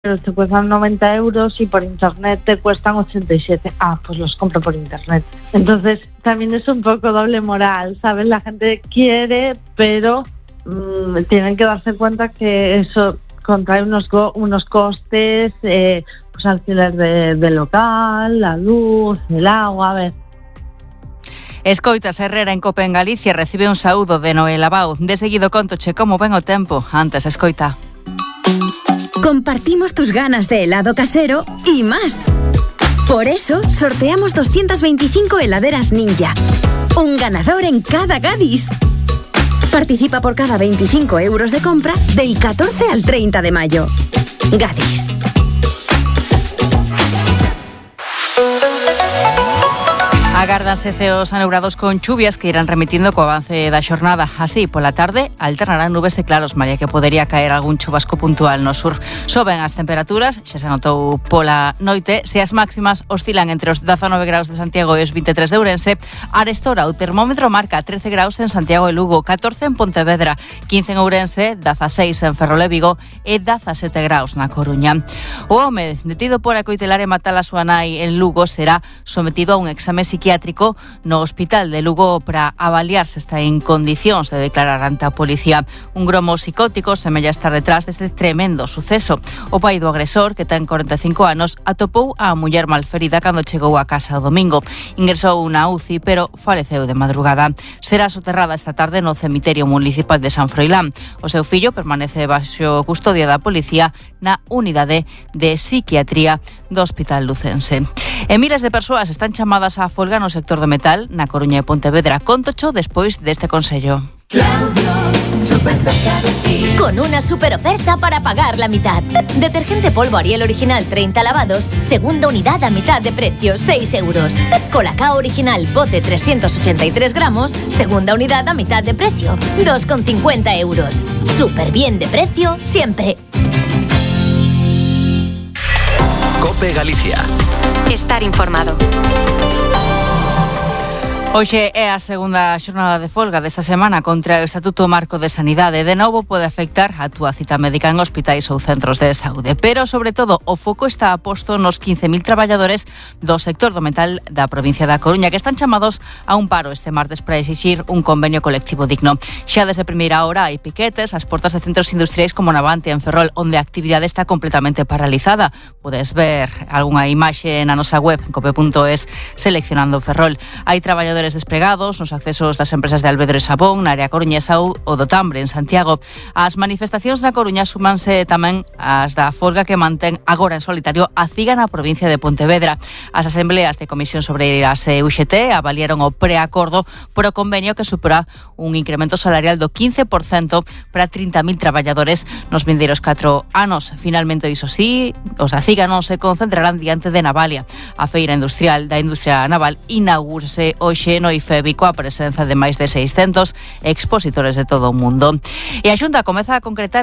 te cuestan 90 euros y por internet te cuestan 87. Pues los compro por internet. Entonces también es un poco doble moral, ¿sabes? La gente quiere, pero tienen que darse cuenta que eso contrae unos costes, pues alquiler de local, la luz, el agua, a ver. Escoitas Herrera en Cope en Galicia recibe un saúdo de Noel Abao. De seguido contoche como ven o tempo. Antes escoita. Compartimos tus ganas de helado casero y más. Por eso sorteamos 225 heladeras Ninja. Un ganador en cada Gadis. Participa por cada 25 euros de compra del 14 al 30 de mayo. Gadis. Agárdanse ceos aneurados con chuvias que irán remitiendo co avance da xornada. Así, pola tarde, alternarán nubes e claros, malia que podería caer algún chubasco puntual no sur. Soben as temperaturas, xa se notou pola noite, se as máximas oscilan entre os 19 graus de Santiago e os 23 de Ourense. Arestora, o termómetro marca 13 graus en Santiago e Lugo, 14 en Pontevedra, 15 en Ourense, 16 en Ferrol e Vigo e 17 graus na Coruña. O home detido por acoitelar e matar a súa nai en Lugo será sometido a un exame psiquiátrico no hospital de Lugo para avaliar se está en condicións de declarar ante a policía. Un gromo psicótico semella estar detrás deste tremendo suceso. O pai do agresor, que ten 45 anos, atopou a muller malferida cando chegou a casa o domingo. Ingresou na UCI, pero faleceu de madrugada. Será soterrada esta tarde no cemiterio municipal de San Froilán. O seu fillo permanece baixo custodia da policía na unidade de psiquiatría do Hospital Lucense. E miles de persoas están chamadas a folga no sector do metal na Coruña e Pontevedra. Contocho despois deste consello. Claudio, súper cerca de ti. Con una super oferta para pagar la mitad. Detergente polvo Ariel original 30 lavados, segunda unidad a mitad de precio, 6 euros. Colacao original pote 383 gramos, segunda unidad a mitad de precio, 2,50 euros. Súper bien de precio siempre. Cope Galicia. Estar informado. Hoxe é a segunda xornada de folga desta semana contra o Estatuto Marco de Sanidade. De novo pode afectar a túa cita médica en hospitais ou centros de saúde. Pero, sobre todo, o foco está posto nos 15.000 traballadores do sector do metal da provincia da Coruña que están chamados a un paro este martes para exixir un convenio colectivo digno. Xa desde primeira hora hai piquetes ás portas de centros industriais como Navante en Ferrol, onde a actividade está completamente paralizada. Podes ver algunha imaxe na nosa web, cope.es, seleccionando Ferrol. Hai traballadores despregados nos accesos das empresas de Alvedro e Sabón na área coruñesa ou do Tambre en Santiago. As manifestacións na Coruña súmanse tamén as da folga que mantén agora en solitario a CIGA na provincia de Pontevedra. As asembleas de Comisión sobre as UGT avaliaron o preacordo por o convenio que supera un incremento salarial do 15% para 30.000 traballadores nos vindeiros 4 anos. Finalmente, iso sí, os da CIGA non se concentrarán diante de Navalia. A feira industrial da industria naval inaugúrase hoxe no IFEBI coa presenza de máis de 600 expositores de todo o mundo. E a Xunta comeza a concretar